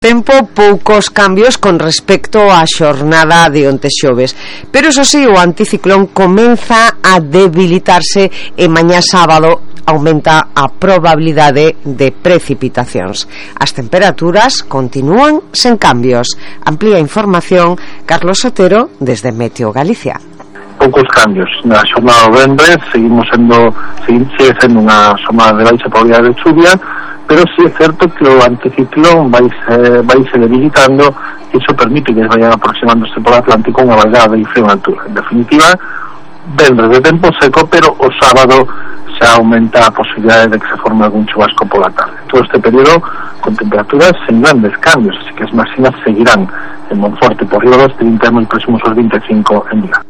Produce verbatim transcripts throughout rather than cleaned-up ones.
Tempo poucos cambios con respecto á xornada de onte xoves, pero iso si, o anticiclón comeza a debilitarse e mañá sábado aumenta a probabilidade de precipitacións. As temperaturas continúan sen cambios. Amplía información Carlos Sotero desde Meteo Galicia. Poucos cambios. Na xornada de novembro seguimos sendo, sigue sendo unha xornada de baixa probabilidade de chuvia, pero sí é certo que o anticiclón vai se, vai se debilitando e iso permite que vayan aproximándose por Atlántico unha vaigada de frío en altura. En definitiva, vendres de tempo seco, pero o sábado xa aumenta a posibilidade de que se forme algún chubasco pola tarde. Todo este período con temperaturas sen grandes cambios, así que as máximas seguirán en Monforte por riba dos trinta e moi próximos aos vinte e cinco en Vigo.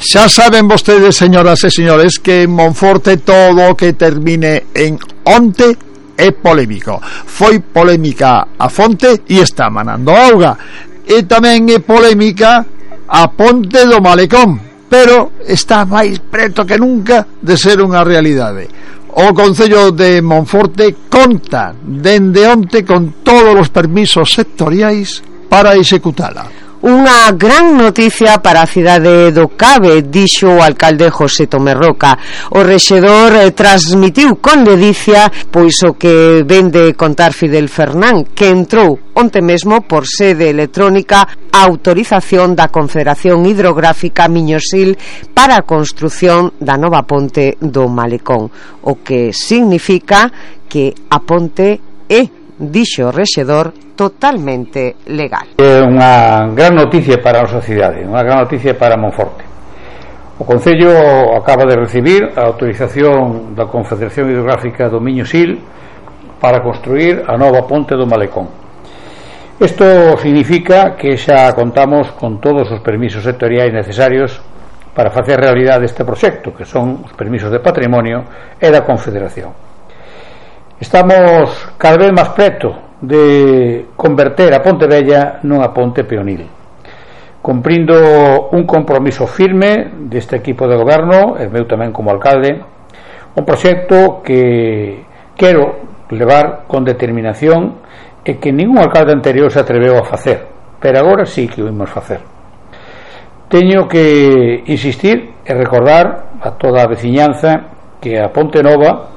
Xa saben vostedes, señoras e señores, que en Monforte todo o que termine en onte é polémico. Foi polémica a fonte e está manando auga. E tamén é polémica a ponte do Malecón, pero está máis preto que nunca de ser unha realidade. O Concello de Monforte conta dende onte con todos os permisos sectoriais para executala. Unha gran noticia para a cidade do Cabe, dixo o alcalde José Tomé Roca. O rexedor eh, transmitiu con ledicia pois o que vende contar Fidel Fernán, que entrou onte mesmo por sede electrónica a autorización da Confederación Hidrográfica Miñosil para a construción da nova ponte do Malecón, o que significa que a ponte é, dixo o rexedor, totalmente legal. É unha gran noticia para a nosa cidade, unha gran noticia para Monforte. O Concello acaba de recibir a autorización da Confederación Hidrográfica do Miño-Sil para construir a nova ponte do Malecón. Isto significa que xa contamos con todos os permisos sectoriais necesarios para facer realidade este proxecto, que son os permisos de patrimonio e da Confederación. Estamos cada vez máis preto de converter a Ponte Vella nunha ponte peonil, cumprindo un compromiso firme deste equipo de goberno e meu tamén como alcalde, un proxecto que quero levar con determinación e que ningún alcalde anterior se atreveu a facer, pero agora sí que o imos facer. Teño que insistir e recordar a toda a veciñanza que a Ponte Nova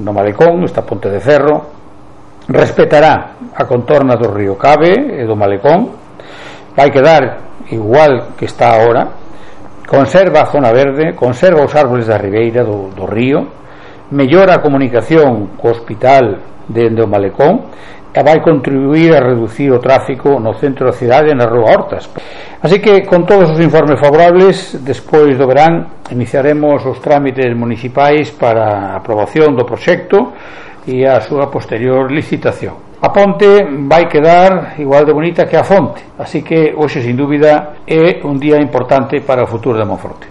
no Malecón, esta ponte de ferro, respetará a contorna do río Cabe e do Malecón, vai quedar igual que está ahora, conserva a zona verde, conserva os árboles da ribeira do, do río, mellora a comunicación co hospital dende o Malecón e vai contribuir a reducir o tráfico no centro da cidade na rúa Hortas. Así que, con todos os informes favorables, despois do verán iniciaremos os trámites municipais para a aprobación do proxecto e a súa posterior licitación. A ponte vai quedar igual de bonita que a fonte, así que hoxe, sin dúbida, é un día importante para o futuro de Monforte.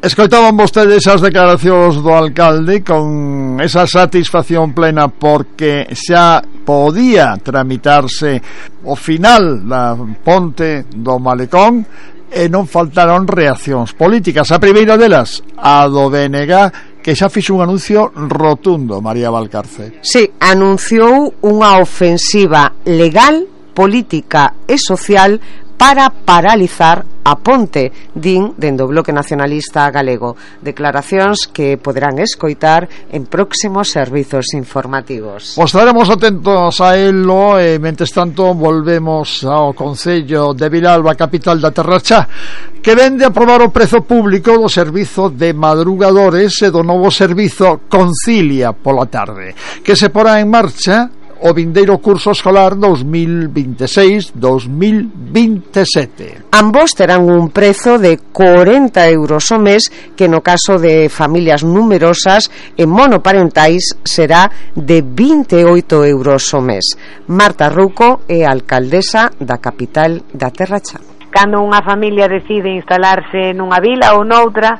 Escoitaban vostedes as declaracións do alcalde con esa satisfacción plena porque xa podía tramitarse o final da ponte do Malecón e non faltaron reaccións políticas. A primeira delas, a do B N G, que xa fixo un anuncio rotundo, María Valcarce. Sí, anunciou unha ofensiva legal, política e social para paralizar a ponte, din dende o Bloque Nacionalista Galego. Declaracións que poderán escoitar en próximos servizos informativos. Pois estaremos atentos a elo e, mentres tanto, volvemos ao Concello de Vilalba, capital da Terra Chá, que vende a aprobar o prezo público do servizo de madrugadores e do novo servizo Concilia pola tarde, que se porá en marcha o vindeiro curso escolar dos mil vinte e seis dos mil vinte e sete. Ambos terán un prezo de corenta euros ao mes, que no caso de familias numerosas e monoparentais será de vinte e oito euros ao mes. Marta Ruco é alcaldesa da capital da Terra Chá. Cando unha familia decide instalarse nunha vila ou noutra,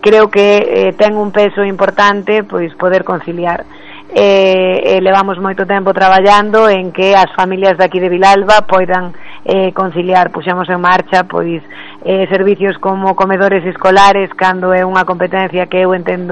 creo que eh, ten un peso importante pois poder conciliar. E, e levamos moito tempo traballando en que as familias de aquí de Vilalba poidan eh, conciliar. Puxemos en marcha pois eh, servicios como comedores escolares cando é unha competencia que eu entendo